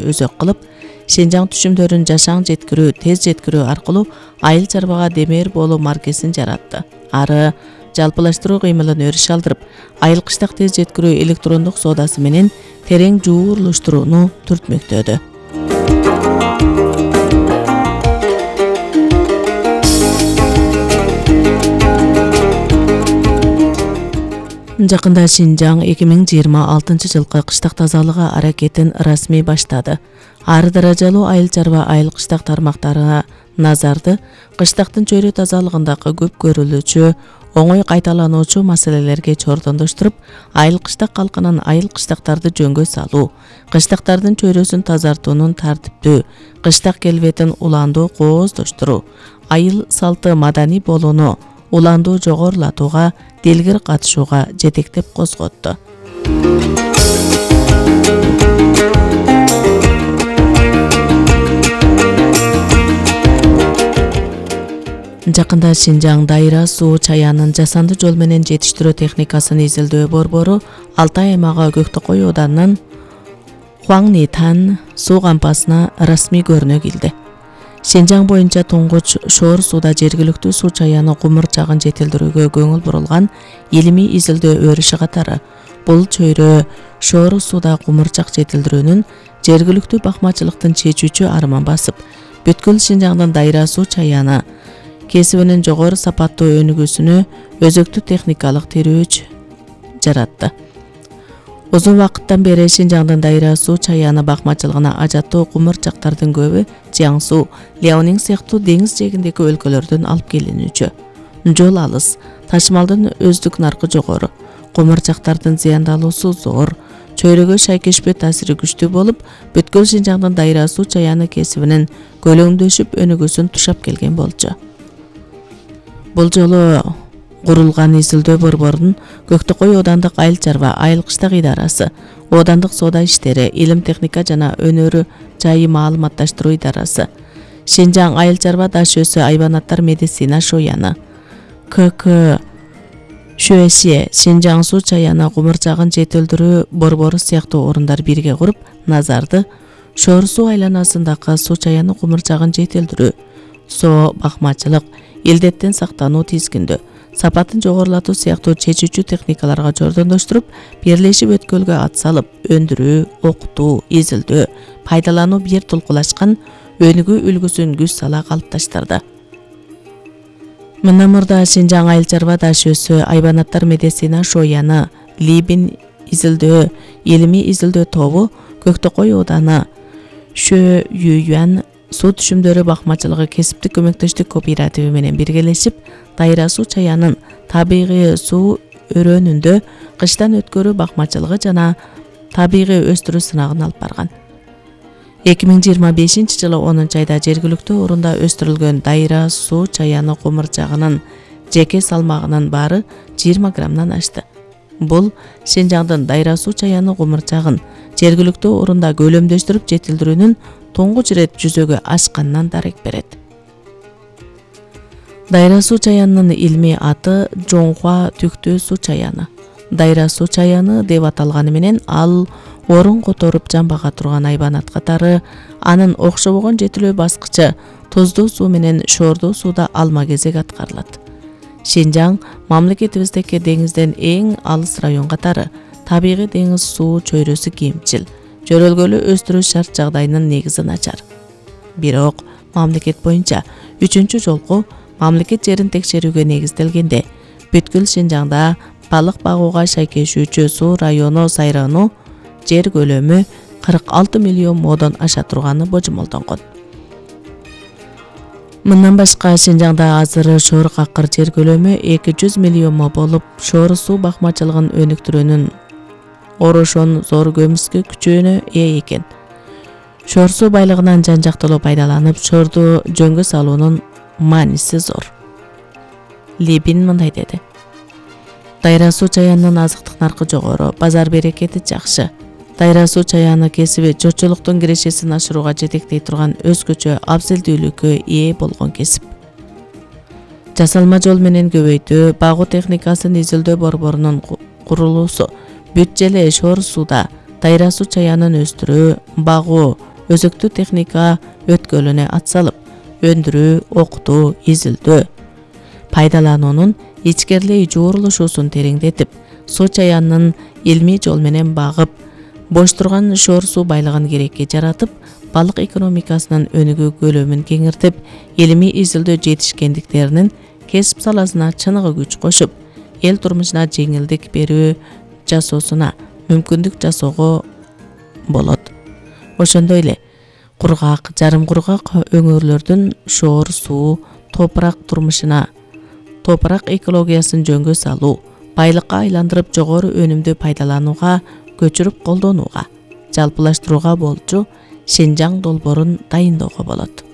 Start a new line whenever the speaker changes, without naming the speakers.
өзөк кылып, Синжаң түшүмдөрүн жашаң жеткирүү, тез жеткирүү аркылуу айыл чарбага демир болуу маркесин жаратты. Ары жалпылаштыруу кыймылын өрүш алдырып, айыл кыштак тез жеткирүү электрондук соодасы менен терең жуурулуштурууну түртмөктөдү. Жакында Синжаң 2026 жылкы кыштак тазалыгы аракетин расмий баштады. Ар даражалуу айыл чарба айыл кыштак тармактарына назарды кыштактын чөйрө тазалыгындагы көп көрүлүүчү, оңой кайталануучу маселелерге чордондоштуруп, айыл кыштак калкынын айыл кыштактарды жөнгө салуу, кыштактардын чөйрөсүн тазартуунун тартиптүү, кыштак келбетин уландуу кооздоштуруу, айыл салты маданий болууну уландуу жогорулатууга, делгир катышууга жетектеп козготту. Жакында Синжаң дайра суу чаянын жасанды жол менен жетиштирүү техникасын изилдөө борбору Алтай аймагы Көктөкөй ауданынын Хуаңнитан суу кампасына расмий көрүнө килди. Синжаң боюнча туңгуч шоор сууда жергиликтүү суу чаяны кумурчагын жетилдирүүгө көңүл бурулган илимий изилдөө өрүшү катары бул чөйрө шоор сууда кумурчак жетилдирүүнүн жергиликтүү бакмачылыктын чечүүчү арымын басып, бүткүл Синжаңдын дайра суу чаяны кесибинин жогору сапаттуу өнүгүүсүнө өзөктүү техникалык тирөөч жаратты. Узун вакыттан бери Синжаңдын дайра суу чаяны бакмачылыгына ажаттуу кумурчактардын көбү Жиаңсу, Ляонинг сыяктуу деңиз жээгиндеги өлкөлөрдөн алып келинүүчү. Жол алыс, ташымалдын өздүк наркы жогору, кумурчактардын зыяндалуусу зор, чөйрөгө шайкешпөө таасири күчтүү болуп, бүткүл Синжаңдын дайра суу чаяны кесибинин көлөмдөшүп өнүгүүсүн тушап келген болчу. Бул жолу курулган изилдөө борборунун Көктөкөй аудандык айыл чарба айыл кыштак идарасы, аудандык соода иштери, илим техника жана өнөрү жайы маалыматташтыруу идарасы, Синжаң айыл чарба даш өсү айбанаттар медицина шояны, КК ШОС Синжаң суу чаяны кумурчагын жетилдирүү борбору сыяктуу орундар бирге куруп, назарды шоор суу айланасындагы суу чаяны кумурчагын жетилдирүү, соо бакмачылык, илдеттен сактануу тизгиндөө, сапатын жогорулатуу сыяктуу чечүүчү техникаларга жордондоштуруп, бирлешип өткөлгө ат салып, өндүрүү, окутуу, изилдөө, пайдалануу бир тулкулашкан өнүгүү үлгүсүн күч сала калыпташтырды. Мындан мурда Синжаң айыл чарба даш өсү айбанаттар медицина шояны, Либин изилдөө, илимий изилдөө тобу Көктөкөй ауданы Шө Ююан суу түшүмдөрү бакмачылыгы кесиптик көмөктөштүк кооперативи менен биргелешип, дайра суу чаянын табигый суу өрөөнүндө кыштан өткөрүү бакмачылыгы жана табигый өстүрүү сынагын алып барган. 2025 жылы 10 айда жергиликтүү орунда өстүрүлгөн дайра суу чаяны кумурчагынын жеке салмагынын баары 20 граммдан ашты. Бул Синжаңдын дайра суу чаяны кумурчагын жергиликтүү орунда көлөмдөштүрүп жетилдирүүнүн туңгуч ирет жүзөгө ашканынан дарек берет. Дайра суу чаянынын илмий аты Жоңхуа түктүү суу чаяны. Дайра суу чаяны деп аталганы менен ал орун которуп жамбага турган айбанат катары анын окшобогон жетилүү баскычы туздуу суу менен шоордуу сууда алма кезек аткарылат. Синжаң мамлекетибиздеги деңизден эң алыс район катары табигый деңиз суу чөйрөсү кемчил, жөрөлгөлүү өстүрүү шарт жагдайынын негизин ачар. Бирок мамлекет боюнча 3-чү жолку мамлекет жерин текшерүүгө негизделгенде, бүткүл Синжаңда балык багууга шайкешүүчү суу району сайраану жер көлөмү 46 миллион модон аша турганы божомолдонгон. Мындан башка Синжаңда азыр шоор какыр жер көлөмү 200 миллион мо болуп, шоор суу бакмачылыгын өнүктүрүүнүн орошон зор көмүскө күчүнө ээ экен. Шоор суу байлыгынан жан жактылуу пайдаланып, шоорду жөнгө салуунун мааниси зор. Либин мындай деди: Дайра суу чаянынын азыктык наркы жогору, базар берекети жакшы. Дайра суу чаяны кесиби журтчулуктун кирешесин ашырууга жетектей турган өзгөчө абзелдүүлүккө ээ болгон кесип. Жасалма жол менен көбөйтүү, багуу техникасын изилдөө борборунун курулуусу бүт желе шоор сууда дайра суу чаянын өстүрүү, багуу, өзөктүү техника өткөлүнө атсалып, өндүрүү, окутуу, изилдөө, пайдалануунун ичкерилей жуурулушуусун тереңдетип, суу чаянын илмий жол менен багып, бош турган шоор суу байлыгын керекке жаратып, балык экономикасынын өнүгүү көлөмүн кеңиртип, илимий изилдөө жетишкендиктеринин кесип саласына чыныгы күч кошуп, эл турмушуна жеңилдик берүү жасоосуна мүмкүндүк жасоого болот. Ошондой эле кургак, жарым кургак өңүрлөрдүн шоор суу, топурак турмушуна, топурак экологиясын жөнгө салуу, байлыкка айландырып жогору өнүмдү пайдаланууга, көчүрүп колдонууга, жалпылаштырууга болчу Шенжаң долбоорун дайындоого болот.